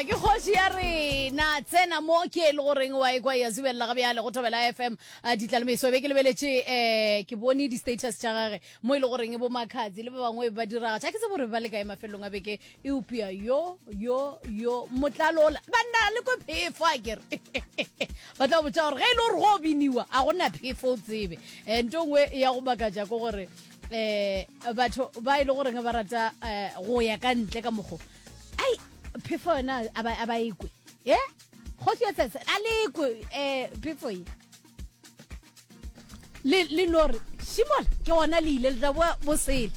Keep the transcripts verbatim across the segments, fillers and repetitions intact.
Ke kgoši ya rena. Tsena mo ke e le goreng wa ekwa ya zubelela ga bjale go Thobela F M ditlalemeso. Be ke lebeletše um ke bone di-status tša gage mo e le goreng bo Makhadzi le ba bangwe ba diragatša. Ke tsebe gore ba le kae mafelong a beke, eupša yo yo yo motlalola banna le ko phefo a kere ba tla botša gore ge e le gore go biniwa a gona phefo o tsebe. um nto nngwe ya go makatša ke gore um batho ba e le goreng ba rata um go ya ka ntle ka mokgo ai phefo yona a ba a ba ekwe e kgoši ya tsetse a le ekwe um phefo ye le le no re šimola ke gona le ile le tla boa bosele.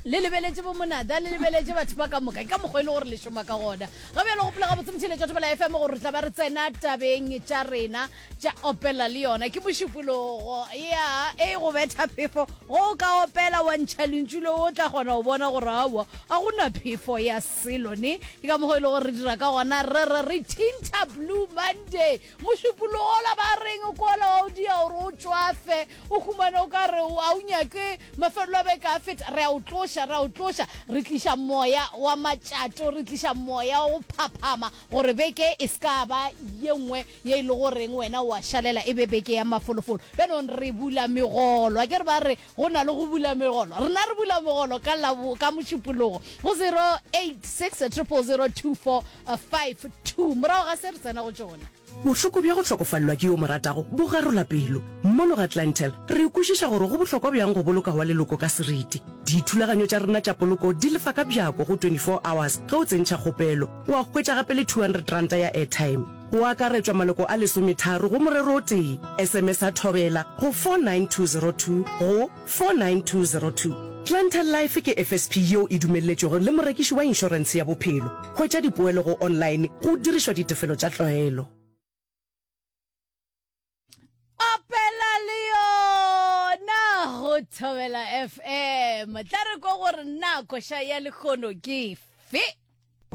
Le lebeletše bo monada, le lebeletše batho ba ka moka ka mokgwa e le gore le šoma ka gona. Ga bjalo gopola gabotse motheletša Thobela F M gore re tla ba re tsena tabeng tša rena tša opela le yona. Ke mošupologo ya e go betha phefo go o ka opela wa ntšha lentšu le o tla kgona go bona gore aowa a gona phefo ya selo ne. Ke ka mokgwa e le gore re dira ka gona, re re re thinta Blue Monday, mošupologola ba reng kola wa o dia gore o tšwafe o humane o ka re a o nyake mafelelo a beke a feta. Re a o tloša, re a o tloša, re tliša moya wa matšato, re tliša moya wa go phaphama gore beke e se ka ba ye nngwe ye e le goreng wena wa šalela, e be beke ya mafolofolo. Bjanong re bula megolo a ke re ba re go na le go bula megolo, rena re bula megolo ka labo ka mošupologo go zero eight six triple zero two four five two. Morago ga se re tsena go tšona. Bohloko bja go hlokofalelwa ke yo mo ratago bo garola pelo. Mono ga Clientele re kwešiša gore go bohlokwa bjang go boloka wa leloko ka seriti. Dithulaganyo tša rena tša poloko di lefa ka bjako go twenty-four hours ge o tsentšha kgopelo, wa hwetša gape le two hundred ranta ya airtime. Go akaretšwa maloko a lesometharo go morero o tee. S M S a Thobela go four nine two zero two go four nine two zero two. Clientele Life ke F S P yeo e dumelletšwego le morekiši wa inšorentshe ya bophelo. Hwetša dipoelo go online go dirišwa ditefelo tša tlwaelo. Opela le yona go Thobela F M. Tla re kwa gore nna koša ya lekgono ke fe.